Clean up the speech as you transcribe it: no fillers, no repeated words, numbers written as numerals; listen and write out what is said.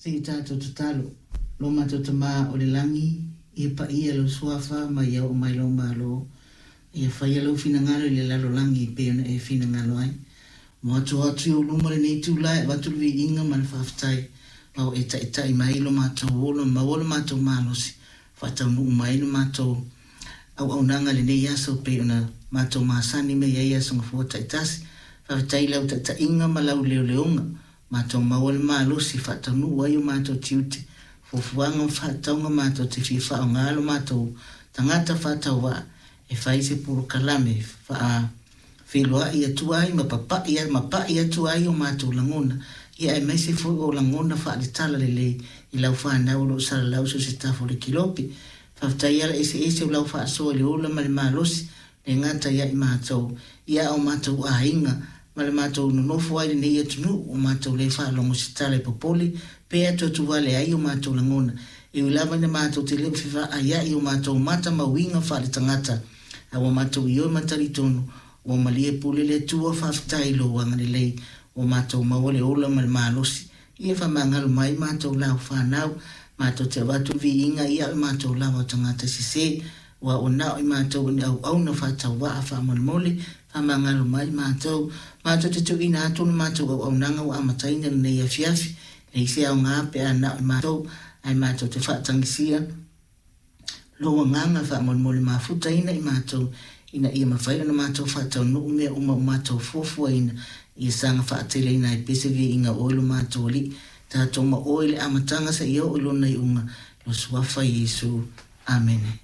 Se i tatou tatalo. Lo matou Tama o le lagi, ia paia lou Suafa ma ia oo mai lou Malo. Ia faia lou finagalo i le lalolagi e pei ona e finagalo ai. Mo atu atu i ou luma lenei itula e avatu le viiga ma le faafetai, ma ua e taitai mai lo matou ola ma maua lo matou malosi, faataunuu mai lo matou auaunaga i lenei aso e pei ona matou masani mai ai i aso Gafua taitasi. Faafetai i lau taitaiga ma lau leoleoga, matou maua le malosi e faataunuu ai o matou tiute, fuafuaga ma faatauga matou te fia faaaoga lo matou tagata faatauvaa e fai se polokalame faa feiloai atu ai ma papai ma pai atu ai o matou lagona, ia aemaise foi o lagona faaletala lelei i lau fanau o lo o salalau so o se tafa o le kilope. Faafetai ala eseese o lau faasoa i le ola ma le malosi, le gata ia i matou, ia a o matou aiga, ma le matou nonofo ai i lenei atunuu, ua matou le faalogo i se tala e popole, pe atuatuvale ai o matou lagona, e ui lava ina matou te le o fevaaia'i i o matou mata ma uiga faaletagata, a ua matou ioe ma talitonu, ua malie pule le Atua, faafetai i lou agalelei, ua matou maua le ola ma le malosi, ia faamagalo mai matou lau fanau, matou te avatu le viiga ia o matou lava o tagata sese, ua o na o i matou o ni auauna faatauvaa faamolemole, faamagalo mai matou, matou te tuuina atu le matou auaunaga ua amataina lenei afiafi, leai se aoga pe a na o i matou, ae matou te faatagisia lou agaga faamolemole mafutaina i matou, ina ia mafai ona matou faataunuu mea uma ua matou fuafuaina, ia saga faateleina ai pea se viiga o oe lo matou Alii, tatou ma oe i le amataga seia oo i lona iuga, lo Suafa Iesu. Amene.